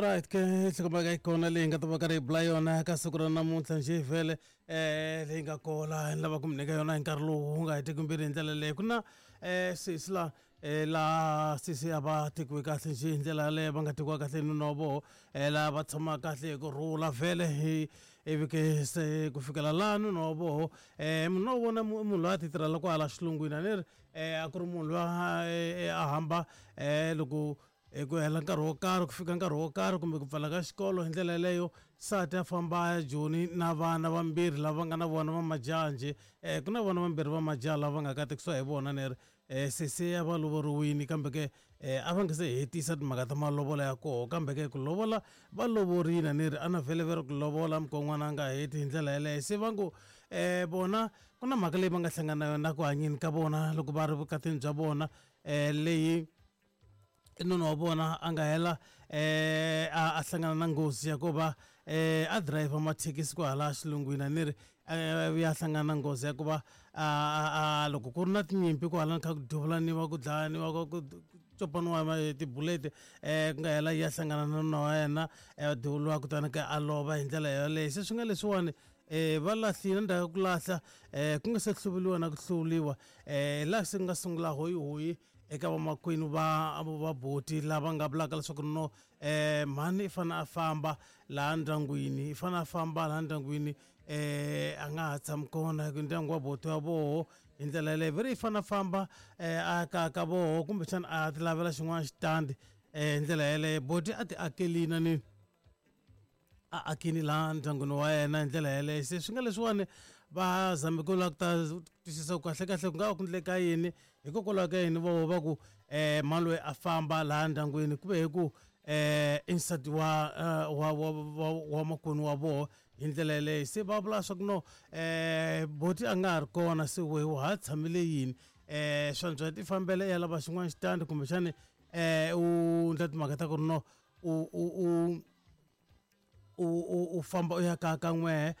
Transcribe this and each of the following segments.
Alright ke nhlokomhaka yi kona leyi nga ta va karhi hi bula yona ka siku ra namuntlha njhe vhele leyi nga kola ni lava ku mi nyika yona hi nkarhi lowu wu nga hetiki mbilu hi ndlela leyi ku na sesi la laha sesi a va tekiwe kahle njhe hi ndlela yaleyo va nga tekiwa kahle hi nuna wa voho laha va tshama kahle hi ku rhula vhele hi ivi ke se ku fikela laha nuna wa voho munhu wa vona munhu loyi a ti tirhela kwahala xilungwini a ni ri a ku ri munhu loyi a hamba loko hi ku hela nkarhi wo karhi ku fika nkarhi wo karhi kumbe ku pfala ka xikolo hi ndlela yeleyo nsati a famba a ya joni na vana vambirhi lava nga na vona va majaha njhe ku na vana vambirhi va majaha lava nga katekisiwa hi vona ni ri se se a va lovoriwini kambe ke a va nga se hetisa timhaka ta malovolo ya koho kambe ke ku lovola va lovorile a ni ri a na vhele ve ri ku lovola mukon'wana a nga heti hi ndlela yeleyo se va ngo vona ku na mhaka leyi va nga hlangana na yona ku hanyeni ka vona loko va ri vukatini bya vona leyi nuna wa vona a nga hela a hlangana na nghozi ya ku va a driver mathekisi kwahala xilungwini a ni ri ya hlangana na nghozi ya ku va a loko ku ri na tinyimpi kwahala kha ku duvulaniwa ku dlayaniwa ku copaniwa tibuleti ku nga hela ya hlangana na nuna wa yena duvuriwa kutani ka a lova hi ndlela yoleyo se swi nga leswiwani va lahlile ndzhaku ka ku lahla ku nga se hluvuriwa na ku hluvuriwa laha se ku nga sungula hoyihoyi eka vamakwenu va va boti lava nga vulaka leswaku no mhani i fanele a famba laha ndyangwini i fanele a famba laha ndyangwini a nga ha tshami kona hi ku ndyangu wa boti wa voho hi ndlela yaleyo ve ri i fanele a famba a ka ka voho kumbexana a ti lavela xin'wana xitandi hi ndlela yaleyo boti a ti akelini ni a akini laha ndyangwini wa yena hi ndlela yeleyo se swi nga leswiwani va zame ku lava ku ta twisisa ku kahlekahle ku nga va ku ndleka yini hikokwalaho ka yini voho va ku mhani loyi a famba laha ndyangwini ku ve hi ku i nsati wa wa wa wa wa makwenu wa voho hi ndlela yeleyo se va vula swa ku no boti a nga ha ri kona se wehe wa ha tshamele yini swantswa ti fambela i ya lava xin'wana xitandi kumbexani u ndla timhaka ta ku ri no u u u u u u famba u ya ka ka n'wehe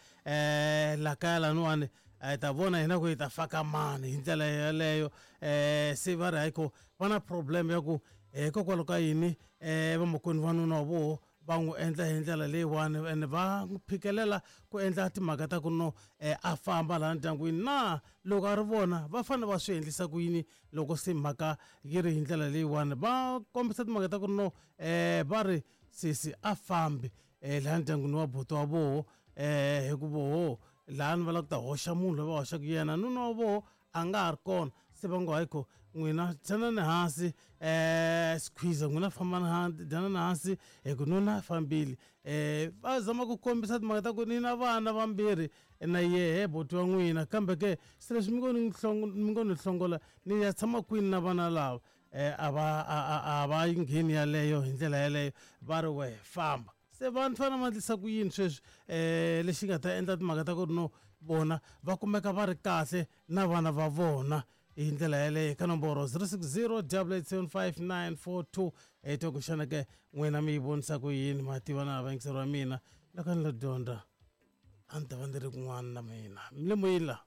la kaya laniwani hi ta vona hina ku hi ta faka mani hi ndlela yeleyo se va ri hayi ko va na problem ya ku hikokwalaho ka yini vamakwenu va nuna wa voho va n'wi endla hi ndlela leyiwani ene va n'wi phikelela ku endla timhaka ta ku no a famba laha ndyangwini na loko a ri vona va fanele va swi endlisa ku yini loko se mhaka yi ri hi ndlela leyiwani va kombisa timhaka ta ku no va ri sesi a fambi laha ndyangwini wa buti wa voho hi ku voho laha ni va lava ku ta hoxa munhu loyi va hoxaka yena nuna wa voho a nga ha ri kona se va ngo hayi kho n'wina tshanani hansi squeeze n'wina fambani hansi dyanani hansi hi ku nuna a fambile va zama ku kombisa timhaka ta ku ni na vana vambirhi na yehe buti wa n'wina kambe ke se leswi mi ngo ni mi ngo ni hlongola ni ya tshama kwini na vana lava a va a va yi ngheni yaleyo hi ndlela yaleyo va ri wehe famba se vanhu fanele va endlisa ku yini sweswi lexi nga ta endla timhaka ta ku ri no vona va kumeka va ri kahle na vana va vona hi ndlela yaleyo ka nomboro 060 875 hi twa ku xana ke n'wina mi yi vonisa ku yini ma tiva na vayingiseri wa mina loko ni lo dyondza a ni ta va ni ri kun'wana na mina mi le moyeni laha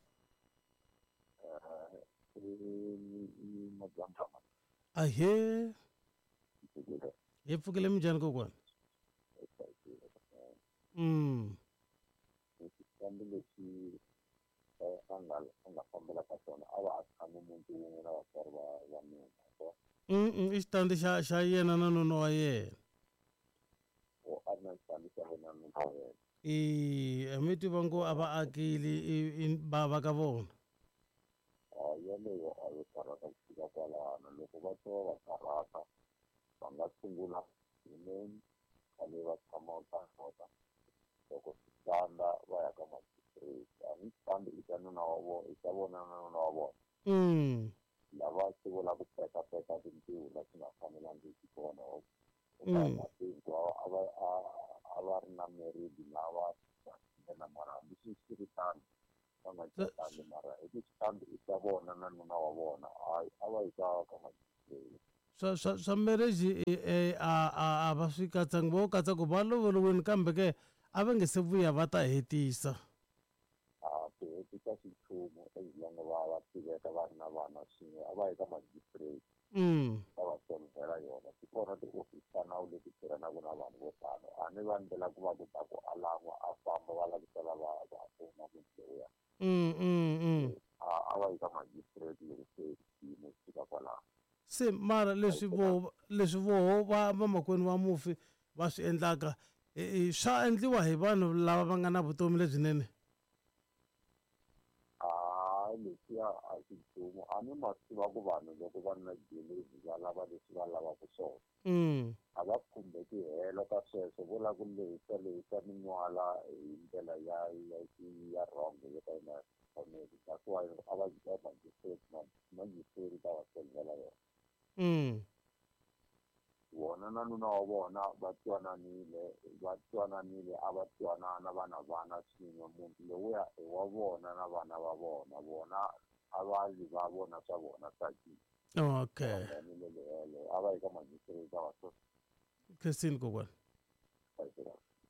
ahee hi pfukile minjhani kokwani Xitandi lexi a nga a nga fambela ka xona a va a tshame muti wun'we na vatswari va va mina so i xitandi xa xa yena na nuna wa yena o a ri na xitandi xa yena na nuna wa yena I mi tiva ngo a va akile i va va ka vona a yeleyo a yo karhata ku fika kwalano loko va twa va karhata va nga sungula hi khale va tshama ka kona loko swi tsandza va ya ka magistrate a ni xitandi i xa nuna wa vona i xa vona na nuna wa vona lava swi vula ku pekapeka tintiho la swi nga fanelangiki kona a va a va ri na married lava na mara hambi swi swi ri tano va nga catanga mara hi ku xitandi i xa vona na nuna wa vona hayi a va yi ka ka magistrate swa swa swa marriage a a a va swi katsangi vo katsa ku va lovoriwini kambe ke a va nge se vuya va ta hetisa a ku hetisa swi nchumu as long va va tiveka va ri na vana swin'we a va yi ka magistrate. Va va solvela yona. Ti kona tiofisi ta nawu leti tirhanaka na vanhu vo tano. A ni va ndlela ku va ku ta ku a lan'wa a famba va lavisela va va pfuna munhu lowuya. A va yi ka magistrate loko se xiyimo xi fika kwalaho. Se mara leswi leswi voho va vamakwenu va mufi va swi endlaka swa endliwa hi vanhu lava va nga na vutomi lebyinene? Hayi, leswiya a xi nchumu. A ni ma tiva ku vanhu loko va ri na jealousy va lava leswi va lavaka swona. A va khumbeki helo ka sweswo, vo lava ku lehisa lehisa minwala hi ndlela ya wrong yo ka yi nga faneli. That's why a va yi ka magistrate, magistrate ta va solvela yona. Vona na nuna wa vona va twananile, va twananile, a va twanana vana vana swin'we. Muti lowuya i wa vona na vana va vona, vona a va li va vona swa vona tsakile. Okay. A va yi ka magistrate ta va Christine kokwana.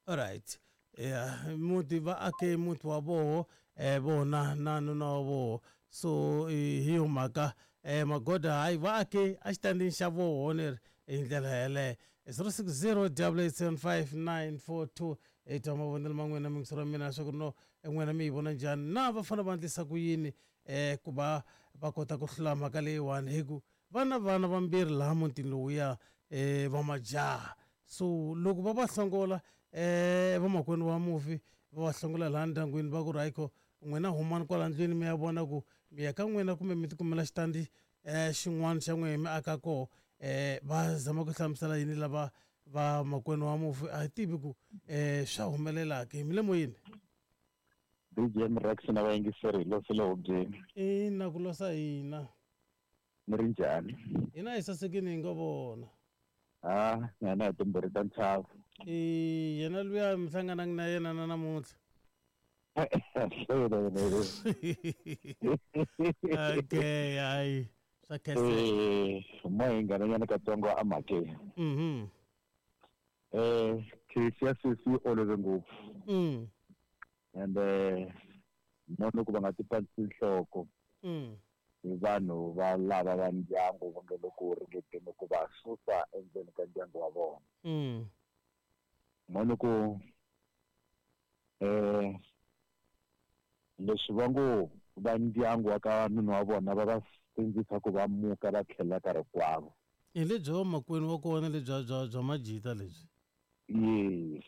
All right. Yeah, muti va ake muti wa voho vona na nuna wa voho. So hi yo mhaka magoda hayi va ake a xitandini xa voho ni hi ndlela yeleyo. 060 875 hi twa mavonelo ma n'wina mingisero ya mina leswaku no n'wina mi yi vona njhani na va fanele va endlisa ku yini ku va va kota ku hlula mhaka leyiwani hi ku va na vana vambirhi laha mutini lowuya va majaha. So loko va va hlongola vamakwenu wa mufi va va hlongola laha ndyangwini va ku ri hayikho n'wina humani kwala ndlwini mi ya vona ku mi ya ka n'wina kumbe mi tikumela xitandi xin'wana xa n'wina mi aka koho. Va zama ku hlamusela yini lava va makwenu wa mufi a hi tivi ku swa humelela ke mi le moyeni. BGM Rex na vayingiseri hi losile hubyeni. Ina ku losa hina. Mi ri njhani? Hina hi sasekini hi nga vona. Ha, na hi timbirhi ta ntlhavu. Yena luya mi hlangananga na yena na namuntlha. Okay, hayi swa khenseka. Mo hi nghenanyana katsongo emhakeni. Case ya sesi yi olove ngopfu. And mo loko va nga ti pandzisi nhloko hi vanhu va lava va ndyangu va nge le ku ringeteni ku va susa endzeni ka ndyangu wa vona. Mo loko leswi va ngo va ndyangu wa ka nuna wa vona va va sindzisa ku va muka va tlhela ka rikwavo. Hi lebyi va makwenu wa kona lebyi bya majita lebyi. Yes.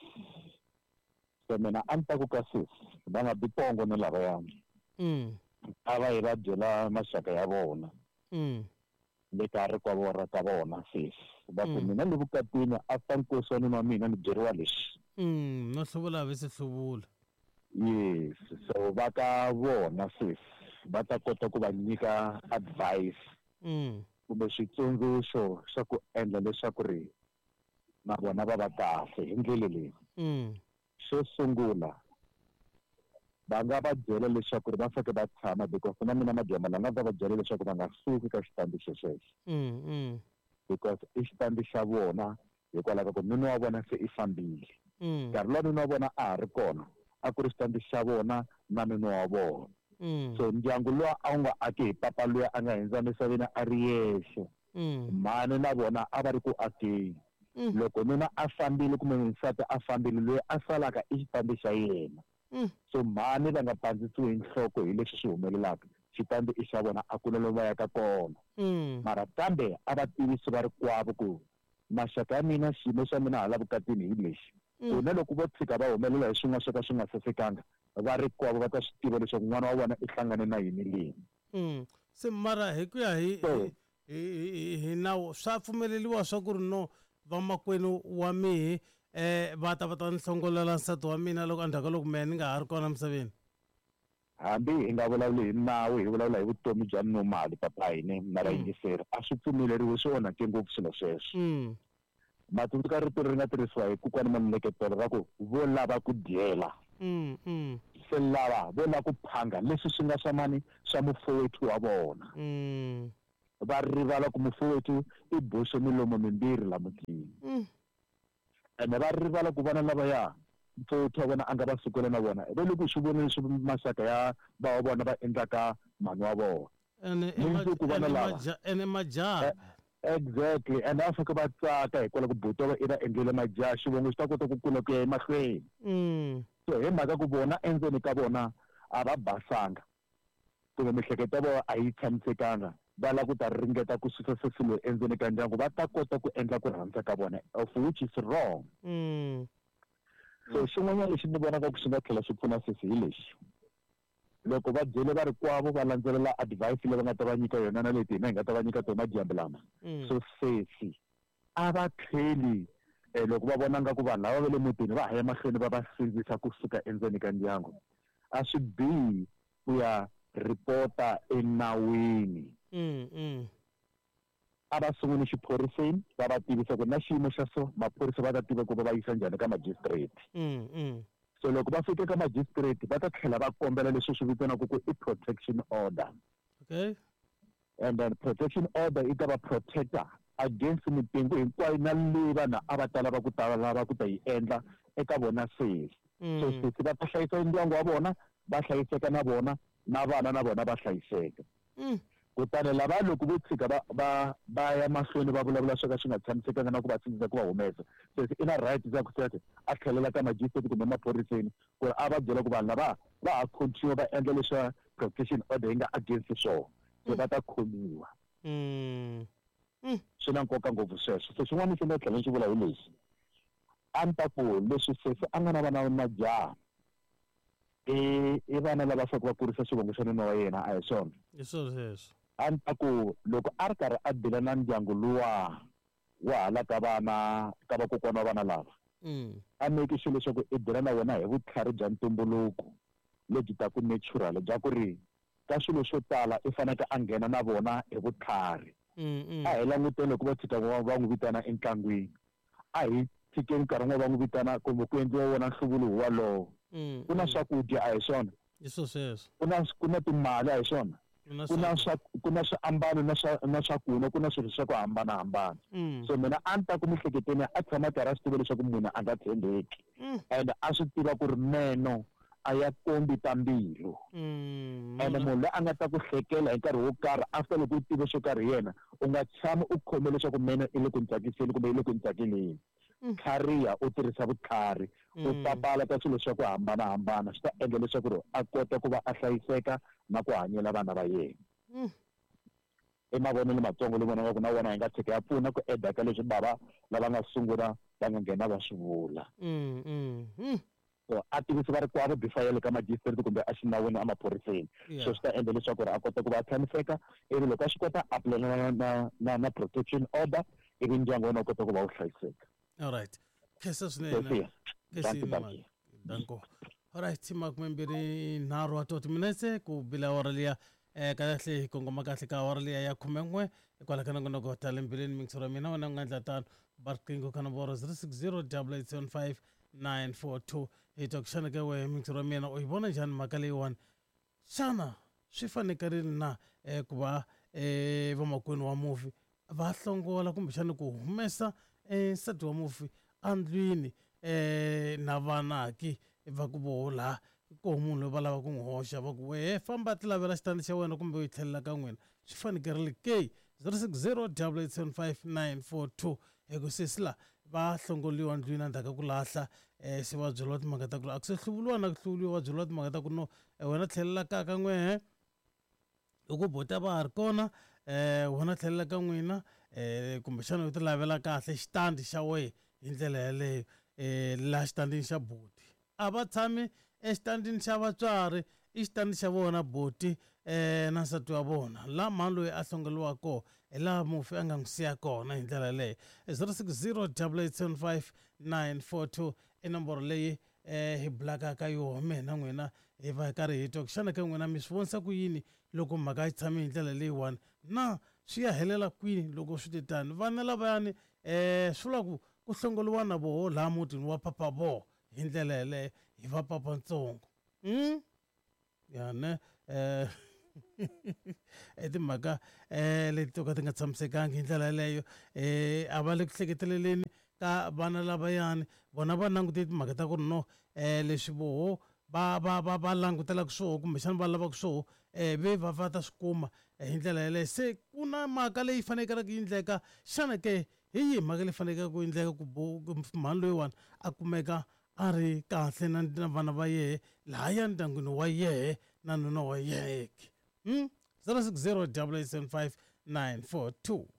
So mina a ni ta ku ka sesi va nga bi pongo ni lavayani. A va yi va byela maxaka ya vona. Le ka rikwavo ra ka vona sesi. Va ku mina le vukatini after nkosi wa nuna wa mina ni byeriwa leswi. No hluvula a vi se hluvula. Yes. So va ka vona sesi va ta kota ku va nyika advice. Kumbe switsundzuxo swa ku endla leswaku ri na vona va va kahle hi ndlela leyi. Xo sungula va nga va byela leswaku ri va faneke va tshama because na mina madyambu la nga ta va byela leswaku va nga suki ka xitandi xexexo. Because i xitandi xa vona hikwalaho ka ku nuna wa vona se i fambile. Nkarhi luwa nuna wa vona a ha ri kona a ku ri xitandi xa vona na nuna wa vona. So ndyangu luwa a wu nga aki hi papa luya a nga hundza emisaveni a ri yexe. Mhani na vona a va ri ku akeni. Loko nuna a fambile kumbe nsati a fambile loyi a salaka i xitandi xa yena. So mhani va nga pandzisiwi hi nhloko hi leswi swi humelelaka. Xitandi i xa vona a ku na lomu va yaka kona. Mara kambe a va tivisi va rikwavo ku maxaka ya mina xiyimo xa mina hala vukatini hi lexi. Ku na loko vo tshika va humelela hi swin'wana swo ka swi nga sasekanga va rikwavo va ta swi tiva leswaku n'wana wa vona i hlangane na yini leni. Se mara hi ku ya hi nawu swa pfumeleriwa swa ku ri no vamakwenu wa mihi va ta va ta ni hlongolela nsati wa mina loko endzhaku ka loko mehe ni nga ha ri kona emisaveni. Hambi hi nga vulavuli hi nawu hi vulavula hi vutomi bya normal papa hina na vayingiseri a swi pfumeleriwi swi onhake ngopfu swilo sweswo. Matsundzuka rito leri nga tirhisiwa hi kokwana Maluleketelo ra ku vo lava ku dyela. Se lava vo lava ku phanga leswi swi nga swa mani swa mufowethu wa vona. Va rivala ku mufowethu i boxe milomo mimbirhi la mutini. Ene va rivala ku vana lavaya mufowethu wa vona a nga va sukela na vona va le ku swi voneni swi maxaka ya va wa vona va endlaka mhani wa vona. Ene majaha. Exactly, and a fika va tsaka hikwalaho ku buti wa i va endlele majaha, xivongo xi ta kota ku kula ku ya emahlweni. So hi mhaka ku vona endzeni ka vona a va basanga, kumbe miehleketo ya vona a yi tshamisekanga, va lava ku ta ringeta ku susa sesi loyi endzeni ka ndyangu, va ta kota ku endla ku rhandza ka vona, of which is wrong. So xin'wanyana lexi ni vonaka ku xi nga tlhela xi pfuna sesi hi lexi, loko va byele varikwavo va landzelela advice leyi va nga ta va nyika yona na leti hina hi nga ta va nyika tona madyambu lama. So sesi a va tlheli, loko va vona nga ku vanhu lava va le mutini va ha ya mahlweni va va sindzisa kusuka endzeni ka ndyangu, a swi bihi ku ya ripota enawini. A va sunguli xiphoriseni, va va tivisa ku na xiyimo xa so, maphorisa va ta tiva ku va va yisa njhani ka magistrate. So loko va fika ka magistrate, va ta tlhela va kombela leswi swi vitaniwaka ku i protection order. And then protection order yi ta va protector against mipingu hinkwayo na leyi vanhu a va ta lava ku ta lava ku ta yi endla eka vona sesi. So sesi va ta hlayisa ndyangu wa vona, va hlayiseka na vona, na vana na vona va hlayiseka. Kutani lava loko vo tshika va va va ya mahlweni va vulavula swo ka swi nga tshamisekanga na ku va sindzisa ku va humesa, sesi i na right ya ku sesi a tlhelela ka magistrate kumbe maphoriseni ku ri a va byela ku vanhu lava va ha continue va endla leswa protection order yi nga against swona, se va ta khomiwa. Swi na nkoka ngopfu sweswo. So xin'wana lexi ni nga tlhela ni xi vula hi lexi, a ni ta ku leswi sesi a nga na vana va majaha, i vana lava faneleke va kurisa xivongo xa nuna wa yena, a hi swona? Hi swona sweswo. A ni ta ku loko a ri karhi a dila na ndyangu luwa wa hala ka vana ka vakokwana wa vana lava, a make sure leswaku i dila na wena hi vutlhari bya ntumbuluko lebyi taku natural, bya ku ri ka swilo swo tala i faneke a nghena na vona hi vutlhari. A hi languteni loko va tshika va n'wi vitana entlangwini, a hi tshikeni nkarhi wun'wana va n'wi vitana kumbe ku endliwa wona nhluvulo walowo. Ku na swakudya, a hi swona? Hi swo sweswo. Ku na timali, a hi swona? Ku na swiambalo na swakunwa, ku na swilo swa ku hambanahambana. So mina a ni ta ku miehleketweni a tshama karhi a swi tiva leswaku munhu a nga tshembeki, and a swi tiva ku ri meno a ya kombi ta mbilu. Ene munhu loyi a nga ta ku hlekela hi nkarhi wo karhi after loko u tive swo karhi hi yena, u nga tshami u khome leswaku meno i le ku ni tsakiseni kumbe i le ku ni tsakeleni. Tlhariha, u tirhisa vutlhari, u papalata swilo swa ku hambanahambana, swi ta endla leswaku ri a kota ku va a hlayiseka na ku hanyela vana va yena. I mavonelo matsongo leyi vonaka ku na wona yi nga tshika ya pfuna ku eda ka leswi bava lava nga sungula va nga nghena va swi vula. So a tivisi varikwavo before ya le ka magistrate kumbe a xinawini emaphoriseni. So swi ta endla leswaku ri a kota ku va a tshamiseka, ivi loko a swi kota a pulana na protection order, ivi ndyangu wa wena wu kota ku va wu hlayiseka. Alright, khensa swinene. Dankie, dankie. Danko. Alright, 23 wa 30 minetse ku bila awara liya, kahle hi kongoma kahle ka awara liya ya 11 hikwalaho ka nongonoko ta le mbilwini. Mingisero ya mina, wena u nga endla tano, ba riqingho ka nomboro 060 875 942, hi twa ku xana ka wehe, mingisero ya mina, u yi vona njhani mhaka leyiwani? Xana swi fanekerile na ku va vamakwenu wa mufi va hlongola kumbexana ku humesa nsati wa mufi andlwini na vanaki va ku voho laha koho munhu loyi va lava ku n'wi hoxa, va ku wehe famba ti lavela xitandi xa wena kumbe u yi tlhelela ka n'wina? Swi fanekerile ke? 060 875 942. Hi ku sesi la va hlongoliwa ndlwini endzhaku ka ku lahla, se va byeriwa timhaka ta ku a ku se hluvuriwa na ku hluvuriwa, va byeriwa timhaka ta ku no, wena tlhelela kaya ka n'wehe, hi ku bota va ha ri kona, wena tlhelela ka n'wina, kumbexana u ti lavela kahle xitandi xa wehe hi ndlela yaleyo. Laha xitandini xa boti a va tshami exitandini xa vatswari, i xitandi xa vona boti na nsati wa vona, laha mhani loyi a hlongoliwa kona, hi laha mufi a nga n'wi siya kona hi ndlela yaleyo. 060 875 942 i nomboro leyi hi bulaka ka yoho mina n'wina, hi va hi karhi hi twa ku xana ka n'wina mi swi vonisa ku yini loko mhaka yi tshame hi ndlela leyiwani, na swi ya helela kwini loko swi te tani? Vana lavayani swi vula ku ku hlongoliwa na voho laha mutini wa papa voho hi ndlela yeleyo, hi va papantsongo. Ya ne i timhaka leti to ka ti nga tshamisekangi hi ndlela yeleyo. A va le ku hleketeleleni ka vana lavayani, vona va langute timhaka ta ku ri no, leswi voho. va va va va langutelaka swoho kumbexana va lavaka swoho um ve va va ta swi kuma hi ndlela yeleyo. Se ku na mhaka leyi fanekelaka yi endleka xana ke hi yihi mhaka leyi faneleke ku endleka ku mhani loyiwani a kumeka a ri kahle na na vana va yehe lahaya ndyangwini wa yehe na nuna wa yehe ke? 060 875 942.